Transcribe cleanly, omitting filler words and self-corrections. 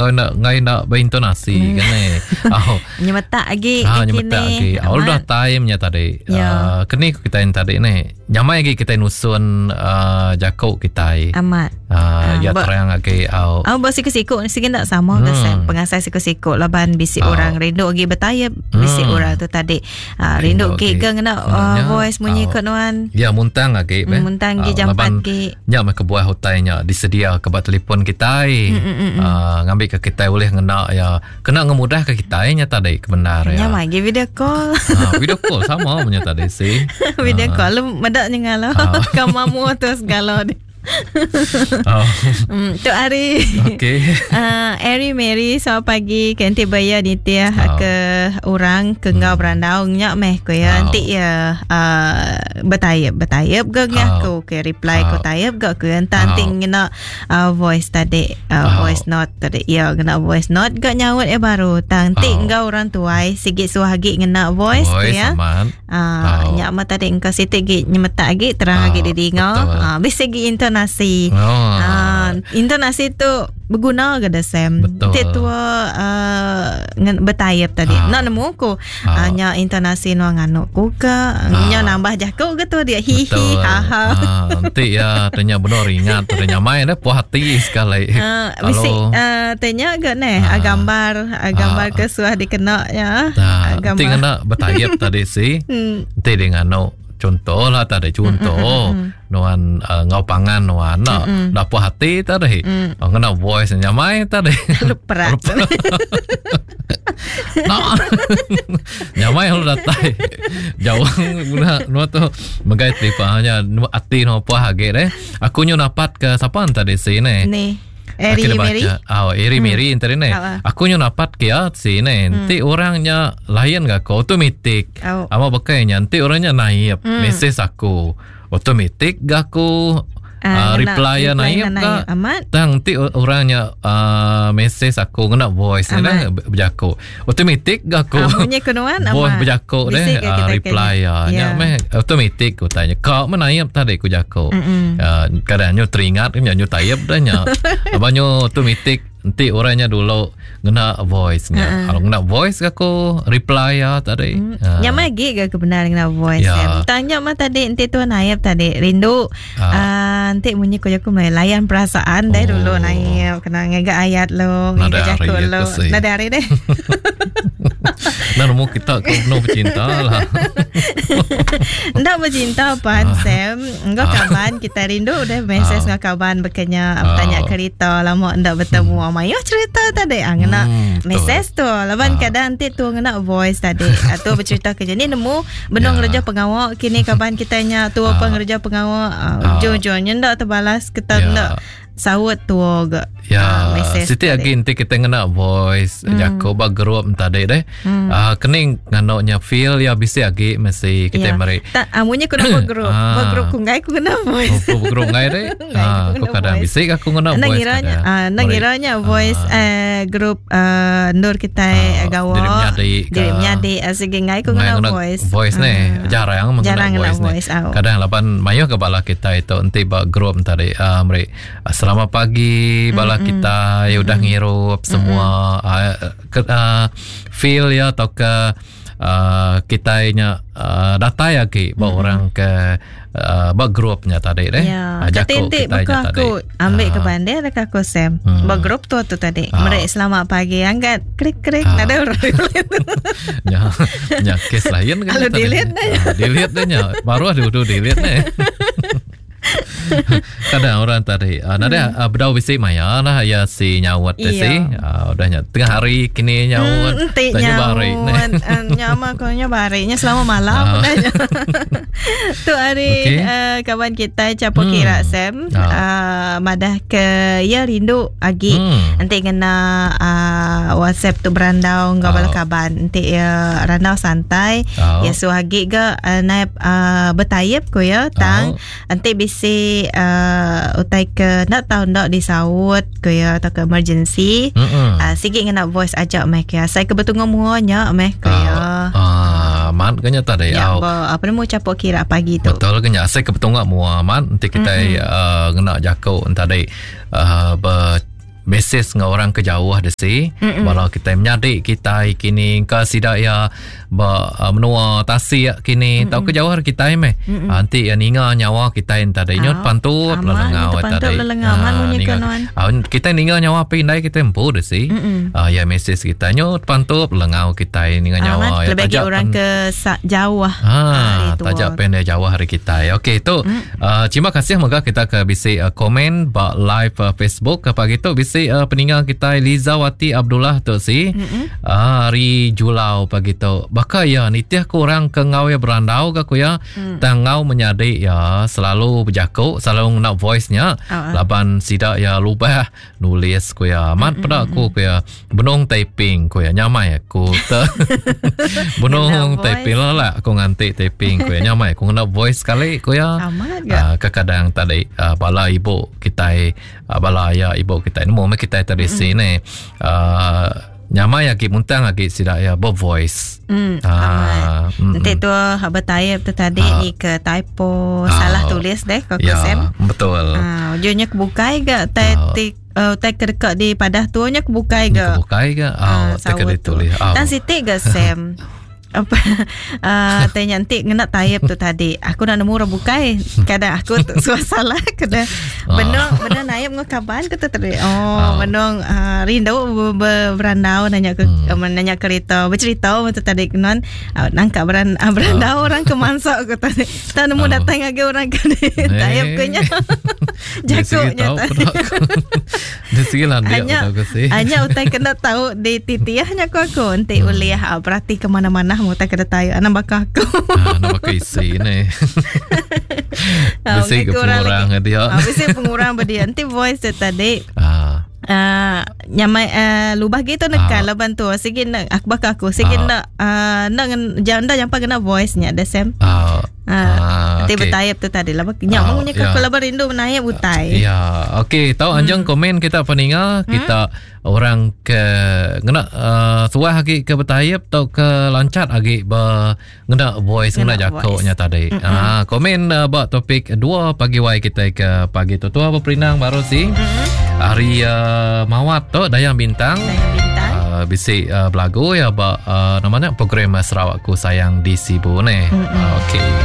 kau nak ngai nak berintonasi kan eh. Oh. Nyemetak agi Ha, nyemetak agi. Oh, udah time nya tadi. Ya. Uh, keni ku kita yang tadi ni. Nyamai agi kita nusun uh, jaku kita. Amat. Uh, ya terang agi au. Au ba siku-siku sigi ndak sama hmm. ke pengasai siku-siku laban bisi oh. orang rindu agi betayap, bisi hmm. orang tu tadi uh, rindu agi ke ngena uh, voice munyi ke nuan. Ya muntang agi be. Muntang agi jampat agi. Nya meh kebuah utai nya disedia ke ba telefon kitai. Hmm, hmm, hmm. Uh, ngambi ke kitai boleh ngena ya kena ngemudah ke kitai nya tadi kebenar ya. Nya mah video call. Ha, video call sama punya tadi si. video call lu medak nyengalo. Ha. Kamamu tu segala di. Oh. Tu hari. Okey. Ari Mary selamat pagi ke enti baya nitih oh. ke orang ke enggau hmm. berandau nya meh ko ya. Oh. Enti ya uh, bertayap bertayap ke ngaku oh. ke reply ko tayap ga ke entah enti ngena uh, voice tadi uh, oh. voice note tadi ya ngena voice note ga nyaut ya baru tang ti oh. enggau orang tuai sigi suah agi ngena voice, voice ya uh, oh. nya mah tadi engkau siti gi nyemetak agi terang oh. agi didinga uh, bisi gi intonasi oh. uh, intonasi tu beguna ke da Sam ti tua uh, bertayap tadi uh. nak nemu ku uh. nya intonasi nuan nganu ku ke uh. nya nambah jaku ke tu dia hi hi ha ha nanti ya tanya benar ingat tanya mai dah puas hati sekali uh, bisi uh, tanya ke neh uh. gambar gambar uh. ke suah dikena ya uh, gambar nanti ngena bertayap tadi si nanti dia nganu contoh lah tadi contoh mm, mm, mm, nuan uh, ngau pangan nuan nak mm, mm. dah puas hati tadi mm. oh, ngena voice nyamai tadi luperat no. nyamai lu datai jauh guna nuan tu megai telefon hanya ati nuan puas agi deh aku nyu napat ke siapa tadi sini ni Eri Mary. Oh, Eri hmm. Mary tadi ni. Aku nyu napat ke ya sini. Hmm. Nanti orangnya lain ga aku automatic. Oh. Ama bakai nya nanti orangnya naik hmm. message aku. Automatic ga aku uh, reply ya naik ga. Amat. Tang nanti orangnya uh, message aku ngena voice ni dah berjaku. Automatic ga aku. Ah, munyi ke nuan Voice berjaku deh uh, reply ya. Nya meh automatic ku tanya. Kau meh naik tadi ku jaku. Uh, kadang nyu teringat nya nyu tayap dah nya. Abang nyu automatic enti orangnya dulu ngena voice nya. Uh-uh. Kalau ngena voice aku reply ya tadi. Mm. Uh. Nya mah agi ga kebenar ngena voice. Ya. Yeah. Tanya mah tadi enti tuan naib tadi rindu uh. Uh, enti munyi ko jaku mai layan perasaan oh. deh dulu naib kena ngaga ayat lo ngaga jaku lo. Nada hari deh. Nah, nemu kita ke penuh bercinta lah. Ndak bercinta pan ah. Sam. Enggau ah. kaban kita rindu deh message ah. ngau kaban bekenya bertanya kerita lama ndak bertemu. Hmm. Mayuh cerita tadi ah ngena hmm, message tu. Laban kadang nanti tu ngena voice tadi. Atau bercerita ke ni nemu benung ngereja pengawa kini kaban kita nya tu apa ngereja pengawa ujung-ujungnya ndak terbalas kita ndak saut tua ga Ya, uh, siti agi enti kita ngena voice mm. jaku ba group tadi deh. Mm. Uh, kening ngano nya feel ya bisi agi mesti kita ya. meri. Tak amunya ku nama group. Ba group ku ngai ku ngena voice. Oh, group ngai deh. Ah, ku kadang bisi aku ngena voice. Nangiranya, ah, nangiranya voice eh group uh, endur kita uh, gawa. Diri menyadi. Diri menyadi sigi ngai ku ngena voice. Voice ni jarang jarang voice, voice ni. Kadang laban mayuh ke bala kita itu enti ba group tadi uh, meri selamat pagi bala mm-hmm. kita mm-hmm. udah ngirup semua mm-hmm. uh, ke, uh, feel ya atau ke uh, kita nya uh, datai agi ba mm-hmm. orang ke uh, ba grupnya tadi deh. Ya. Uh, jaku kita nya tadi. Aku ambil uh. ke bandar dekat aku Sam. Hmm. Ba grup tu tu tadi. Uh. Mereka selamat pagi angkat klik klik uh. ada orang. Ya, ya kes lain kan. Lalu delete dah. Uh, delete dah nya. Baru ada udah delete nih. Kadang orang tadi uh, Nada hmm. uh, bedau bisi maya lah ya si nyawat iya. si uh, udah nya tengah hari kini nyawat hmm, tanya bari nyama ko nya bari nya selama malam uh. udah nya tu hari okay. uh, kawan kita capo hmm. kira Sam uh. Uh, madah ke ya rindu agi hmm. enti ngena uh, WhatsApp tu berandau enggau bala kaban enti ya randau santai oh. ya suah agi ga uh, naip uh, betayip ku ya tang oh. enti bisi uh, utai ke ndak tau ndak disaut ku ya atau ke emergency uh, sigi ngena voice aja meh ke asai ke betunga mua nya meh ku ya uh, mat ke nya tadi ya, ba, apa nemu capok kira pagi tu betul ke nya asai ke betunga mua mat enti kita uh, ngena jaku tadi uh, ber. mesej enggau orang ke jauh desi bala kitai menyadi kitai kini engka sida iya ba uh, menua tasik kini tauka jauh ari kitai meh uh, enti iya ninga nyawa kitai enta tadi nyut pantup lelengau tadi uh, kitai ninga nyawa pi indai kitai empu desi uh, iya mesej kitai nyut pantup lelengau kitai ninga nyawa iya taja orang ke jauh ha taja pen dia jauh ari kitai okey tu Uh, terima kasih mega kita ke bisi uh, komen ba live uh, Facebook ke pagi tu bisi uh, peninga kita Lizawati Abdullah tu si mm-hmm. uh, hari Julau pagi tu. Baka ya nitih ku orang ke ngau ya berandau ke ku ya mm. tang ngau menyadi ya selalu bejaku selalu ngena voice nya oh, laban sida ya lubah nulis ku ya amat peda aku ku ya benung typing ku ya nyamai aku te benung typing lah lah aku nganti typing ku ya nyamai aku ngena voice sekali ku ya amat ga uh, kekadang tadi uh, bala ibu kitai uh, bala aya ibu kitai nemu meh kitai tadi mm. sini uh, nyamai agi muntang agi sida ya bervoice. Hmm, ah, Nanti tu haba type tu tadi ah. ni ke typo ah. salah tulis deh ko ya, Sam. Betul. Ah, ujungnya kebukai ga tai ah. uh, ke dekat di padah tu nya kebukai ga. Kebukai ga. Ah, ah tai ke ditulis. Ah. Dan siti ga Sam. apa uh, tanya nanti ngena type tu tadi aku nak nemu orang bukai kadang aku tu suah salah kena ah. benung benung naip ngau kaban ke tu tadi oh ah. benung uh, rindu berandau nanya ke hmm. nanya kereta bercerita tu tadi kenon uh, nangka beran uh, berandau uh. orang ke mansak ke tadi tak nemu uh. datang lagi orang ke type ke nya jago nya Di segi landik hanya, hanya utai kena tahu di titiahnya aku aku enti hmm. ulih ah, berarti ke mana-mana mu utai kena tahu anak baka aku. Ah, anak baka isi ni. Ah, bisi ke pengurang dia. Ah, bisi pengurang berdia. Enti voice tu tadi. Ah. Uh, nyamai uh, lubah gitu nekan uh. laban tu sigi nak aku baka aku sigi uh. nak uh, nak jangan dah jampa kena voice nya the same. Uh. Ah, okay. bertayap tu tadi lah. Nyak ah, munyi ya. kalau rindu menayap utai. Ya, okey. Tahu hmm. anjang komen kita peninga hmm? kita orang ke ngena uh, suah lagi ke bertayap atau ke lancat lagi ber ngena voice ngena jakoknya tadi. Hmm. Ah, komen uh, ba topik 2 pagi wai kita ke pagi tu. Tua berperinang baru si. Hmm. Hari uh, mawat tu Dayang Bintang. Dayang Bintang. Uh, bisi uh, belagu ya ba uh, namanya program Sarawakku Sayang di Sibu ni. Mm-hmm. Uh, okey.